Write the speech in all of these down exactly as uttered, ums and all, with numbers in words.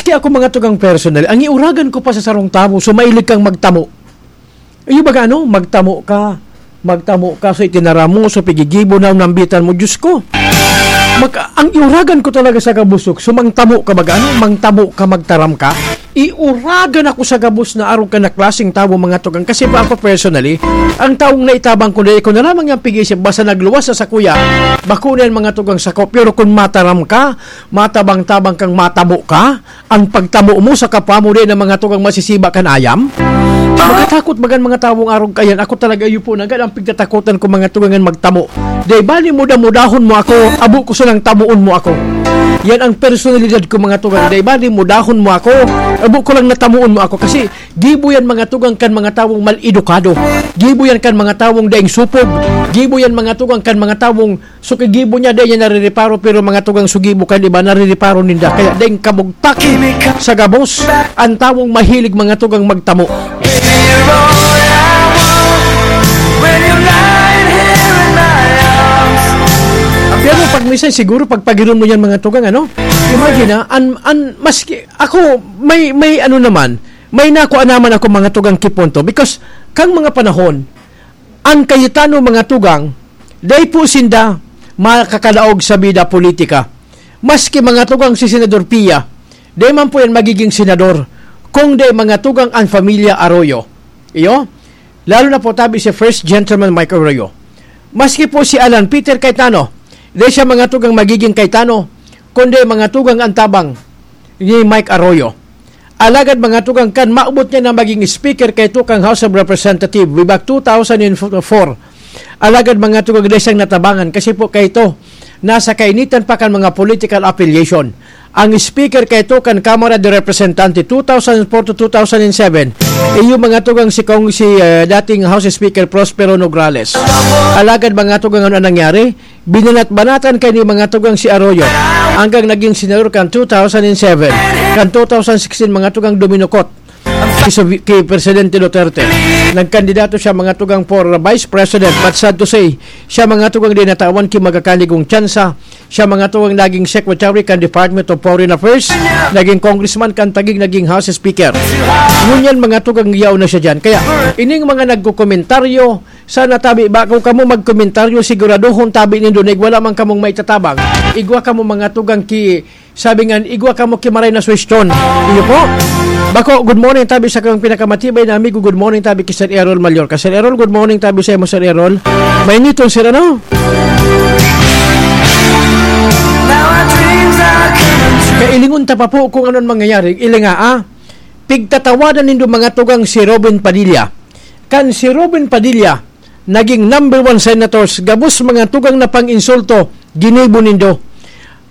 Ako, mga tugang, personal, ang iuragan ko pa sa sarong tawo, so mahilig kang magtamo. Iyo baga, ano, magtamo ka, magtamo ka, so itinaram mo, so pigigibo na nambitan mo, Diyos ko. Mag, ang iuragan ko talaga sa gabos, so mangtamo ka baga, ano, mangtamo ka, magtaram ka. Iuragan ako sa gabos na arog ka na klaseng tawo, mga tugang. Kasi ba ako personally, ang taong naitabang ko, dai ko na lamang yang pig-isip, basta nagluwas sa sakuya, bako na yan, mga tugang, sako. Pero kung mataram ka, matabang-tabang kang matamo ka, ang pagtamo mo sa kapwa mo din ang mga tugang masisiba kan ayam? Makatakot bagan mga tawong arog kayan. Ako talaga, iyo po, nanggad ang pigtatakotan ko, mga tugang, yan magtamo. Dai bali muda-mudahon mo ako, abo ko sanang tamoon mo ako. Yan ang personalidad ko, mga tugang. Dai bali mudahon mo ako, abo ko lang natamoon mo ako. Kasi gibo yan, mga tugang, kan mga tawong mal-edukado. Gibo yan kan mga tawong daing supog. Gibo yan, mga tugang, kan mga tawong sukigibo niya, dai niya narireparo, pero mga tugang sugibo kan iba, narireparo ninda. Kaya daing kabugtak sa gabos ang tawong mahilig, mga tugang, magtamo. Pero pag minsan, siguro, pag pagiron mo yan, mga tugang, ano? Imagine, ha? An, an, maski, ako, may, may ano naman, may nakuha naman ako, mga tugang, kipunto. Because, kang mga panahon, ang Cayetano, mga tugang, dai po sinda makakalaog sa bida politika. Maski, mga tugang, si Senador Pia, dai man po yan magiging senador kung dai, mga tugang, ang pamilya Arroyo. Iyo? Lalo na po tabi si First Gentleman Mike Arroyo. Maski po si Alan Peter Cayetano, dai siya, mga tugang, magiging Cayetano, kundi, mga tugang, ang tabang ni Mike Arroyo. Alagad, mga tugang, kan maabot niya na maging speaker kaito kan House of Representatives, way back two thousand four. Alagad, mga tugang, dai siyang natabangan kasi po kaito, nasa kainitan pa kan mga political affiliation. Ang speaker kaito kan Kamara de Representante two thousand four to two thousand seven, iyo, mga tugang, si Kong, si, eh, dating House Speaker Prospero Nograles. Alagad, mga tugang, ano ang nangyari? Binanat-banatan kaini, mga tugang, si Arroyo hanggang naging senador kan two thousand seven. Kan two thousand sixteen, mga tugang, duminukot ki, ki Presidente Duterte. Nagkandidato siya, mga tugang, for Vice President. But sad to say, siya, mga tugang, dai natawan ki magkakanigong tsansa. Siya, mga tugang, naging Secretary kan Department of Foreign Affairs, naging Congressman kan Taguig, naging House Speaker. Ngunyan, mga tugang, yaon na siya diyan. Kaya, ining mga nagkokomentaryo, sana tabi, bako kamo magkomentaryo, siguradohon tabi nindo na igwa lamang kamong maitatabang. Igwa kamo, mga tugang, ki, sabi nga, igwa kamo ki maray na suwestyon. Iyo po. Bako, good morning tabi sa kang pinakamatibay na amigo. Good morning tabi ki Sir Errol Mallorca. Sir Errol, good morning tabi sa imo, Sir Errol. Mainiton, sir, ano? Kailingon ta pa po kung ano ang mangyayari. Ilinga, ah. Pigtatawanan nindo, mga tugang, si Robin Padilla. Kan si Robin Padilla, naging number one senators, gabos, mga tugang, na pang-insulto, ginibo nindo.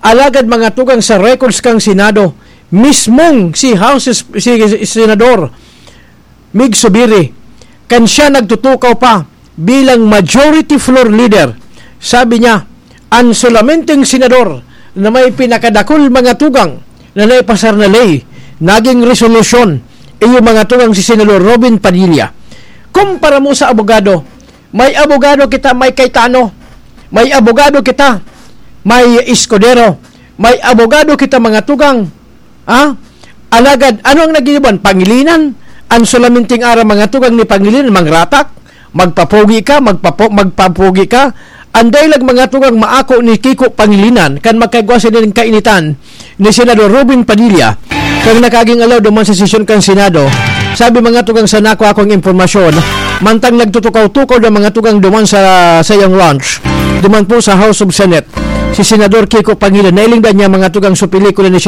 Alagad, mga tugang, sa records kang Senado, mismong si House, si, si Senador Mig Zubiri, kan siya nagtutukaw pa bilang majority floor leader, sabi niya, ang solamenteng senador na may pinakadakul, mga tugang, na naipasar na ley, naging resolusyon, iyo, mga tugang, si Senador Robin Padilla. Kumpara mo sa abogado, may abogado kita, may Cayetano. May abogado kita, may Escudero. May abogado kita, mga tugang. Ha? Alagad, ano ang nag-iiban? Pangilinan? Ang solamenteng aram, mga tugang, ni Pangilinan, mangratak, magpapogi ka, magpapo-, magpapogi ka. Ang dailag, mga tugang, maako ni Kiko Pangilinan, kan magkagwa sila ning kainitan ni Senador Robin Padilla, kang nakaging alaw duman sa sesyon kan Senado. Sabi, mga tugang, sa nako akong impormasyon, mantang nagtutukaw-tukaw na, mga tugang, duman sa sayang lunch, duman po sa House of Senate, si Senador Kiko Pangilinan, nailingdan niya, mga tugang, sa pelikula ni